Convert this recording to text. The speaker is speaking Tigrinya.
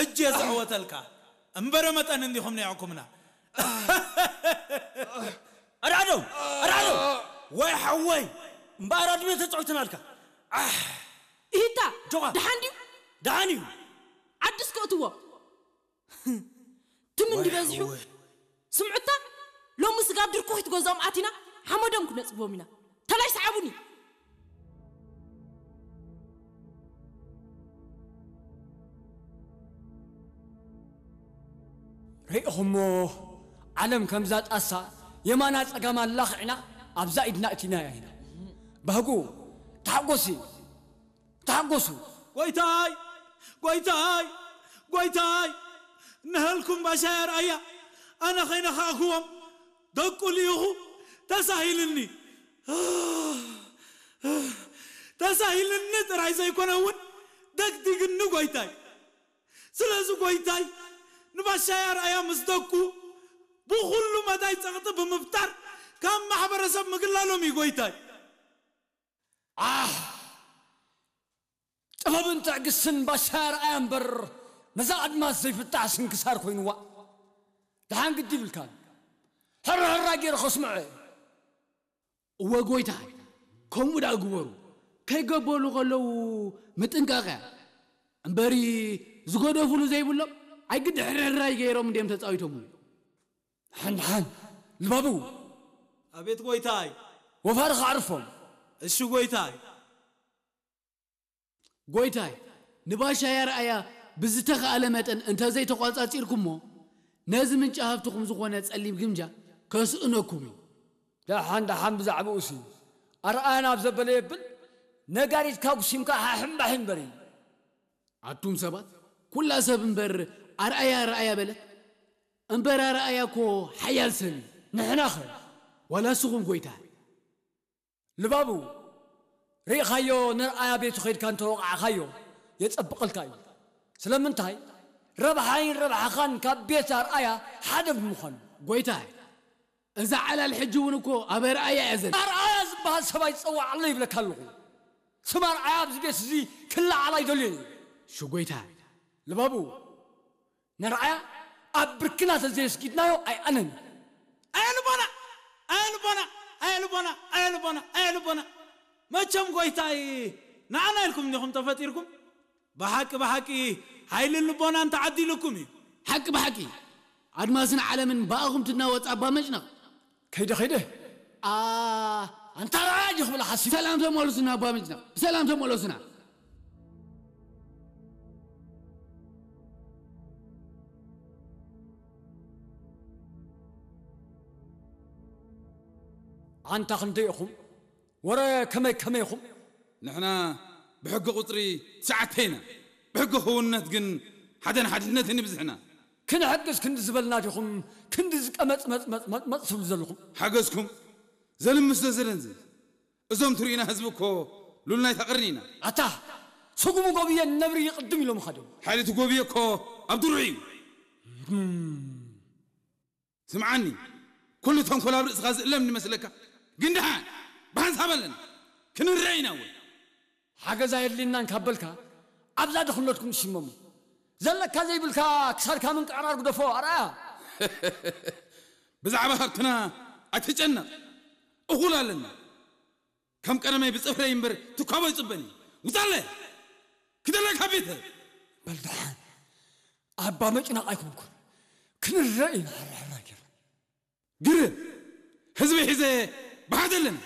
እጅ የዝዕወተልካ እምበረ መጠን እንዲኹም ነይዕኩምና። ኣርዓዶ ኣርዓዶ ወይ ሓወይ እምበኣር ኣድሜ ተፃዊትናልካ። ኣሕ፣ ኢሂታ ጆኻ። ደሓን ድዩ? ደሓን እዩ። ዓዲ እስከ እትዎ። ትም ወይ እንዲበዝሑ ሓወይ። ስምዑታ፣ ሎሚ ስጋብ ድርኩኺት ገዝኦም ኣቲና ሓመዶም ክነፅግቦም ኢና። ተላይ ሰዓቡኒ። ርኢኹሞ፣ ዓለም ከምዛ ጣሳ የማና ጸጋማ ኣላኽዕና ኣብዛ ኢድና እቲናያ ኢና። ባህጉ፣ ተሓጎሲ፣ ተሓጎሱ። ጎይታይ፣ ጎይታይ፣ ጎይታይ፣ ነሀልኩም ባሻይ ኣርኣያ ኣነ ከይነኻእክዎም ደቁ ልኢኹ ተሳሂልኒ። ተሳሂልኒ ጥራይ ዘይኮነ እውን ደግዲግኒ ጎይታይ። ስለዚ ጎይታይ ንባሻይ ኣርኣያ ምስ ደቁ ብኹሉ መዳይ ጸቕጢ ብምፍጣር ካብ ማሕበረሰብ ምግላሎም እዩ ጎይታይ። ኣህ! ጥበብን ትዕግስትን ባሻይ ኣርኣያ እምበር ነዛ ኣድማስ ዘይፍታሕ ስንክሳር ኮይንዋ። ደሓን ግዲ ይብልካን። ሕራ ሕራ ገይረ ከስምዖ እየ። እወ ጎይታይ፣ ከምኡ ደኣ ግበሩ። ከይገበሉ ከለዉ ምጥንቃቕ እያ። እምበሪ ዝገደፉሉ ዘይብሎም ኣይግዲ ሕርሕራይ ገይሮም እንድዮም ተጻዊቶምሉ። ደሓን ደሓን ልባቡ። ኣቤት ጎይታይ። ወፋሪ ከዕርፎም። እሺ ጎይታይ። ጎይታይ፣ ንባሻይ ኣርኣያ ብዝተኻእለ መጠን እንተዘይተቋጻጺርኩሞ፣ ነዚ ምንጪ ሃብትኹም ዝኾነ ጸሊም ግምጃ ከስእነኩም እዩ። ደሓን ደሓን ብዛዕባኡሲ ኣርኣያ ናብ ዘበለ የብል፣ ነጋሪትካ ጉሲምካ ሓሕምባሒም በሪ። ኣቱም ሰባት፣ ኩላ ሰብ እምበር ኣርኣያ ኣርኣያ በለት። እምበር ኣርኣያ እኮ ሓያል ሰብ እዩ። ንሕናኸ? ዋላ እስኹም ጎይታይ። ልባቡ፣ ርኢኻዮ፣ ነርኣያ ቤቱ ኸይድካ እንተወቓዕኻዮ የጸብቐልካ እዩ። ስለምንታይ? ረብሓይን ረብሓኻን ካብ ቤት ኣርኣያ ሓደ ብምዃኑ። ጎይታይ፣ እዛ ዓላል ሕጂ እውን እኮ ኣብ ኣርኣያ እያ ዘላ። ኣርኣያ ዝበሃል ሰብ ኣይትጸውዓለይ ይብለካ ኣለኹ። ስም ኣርኣያ ኣብዚ ቤት እዚ ክለዓል ኣይደልዮን እየ። እሺ ጎይታይ። ልባቡ፣ ንርኣያ ኣብ ብርክና ተዘየስጊድናዮ ኣይኣነን። ኣየልቦና ኣየልቦና ኣየልቦና ኣየልቦና ኣየልቦና። መቸም ጎይታይ ንዓና ኢልኩም እንዲኹም ተፈጢርኩም። ብሓቂ ብሓቂ ሓይልን ልቦናን ተዓዲልኩም እዩ። ሓቂ ብሓቂ ኣድማስን ዓለምን ብኣኹም ትናወፅ ኣባ መጭነቕ። ከይደ ከይደ ኣንታ ራያ ዲኹ ብላ ሓሲብ። ብሰላም ተመለሱና ኣባ ምጭና፣ ብሰላም ተመለሱና። ኣንታ ክንደይ ኢኹም? ወረ ከመይ ከመይ ኢኹም? ንሕና ብሕጊ ቁፅሪ ትሽዓተ ኢና። ብሕጊ ክውንነት ግን ሓደን ሓድነትን ይብዝሕና። ክንሕግዝ ክንዲ ዝበልና ዲኹም ክንዲ ዝቀመጽመጽመጽመጽ ትብሉ ዘለኹም? ሓገዝኩም ዘልምስ ዶ ዘደንዝዝ? እዞም ትርእዩና ህዝቢ እኮ ሉል ናይታ ቅርኒ ኢና። ኣታ ስጉሙ ጎብየ ነብሪ ይቕድም ኢሎምኻ ድዮም? ሓይሊ እቲ ጎብየ እኮ ኣብ ድሩዕ እዩ። ስምዓኒ፣ ኩሉ ተንኮል ኣብ ርእስኻ ዝእለም ይመስለካ? ግን ደሓን ብሓንሳብ ኣለና ክንረአ ኢና። እወ። ሓገዝ ኣየድልየናን ካብ በልካ ኣብዛ ድኽነትኩም ትሽመሙ። ዘለካ ዘይብልካ ክሳድካ ምንቅዕራር ግደፎ ኣርኣያ። ብዛዕባ ሃብትና ኣይትጨነቕ፣ እኹል ኣለና። ከም ቀደመይ ብጽፍረይ እምበር ትኳቦ ኣይጽበን እዩ። ውጻለ! ክደለካ ቤተ! በል ደሓን ኣባ መጭናቕ ኣይኮንኩን። ክንረእ ኢና ሕራሕራ ጌርና። ግርም! ህዝቢ ሒዘ ብሓደ ኣለና።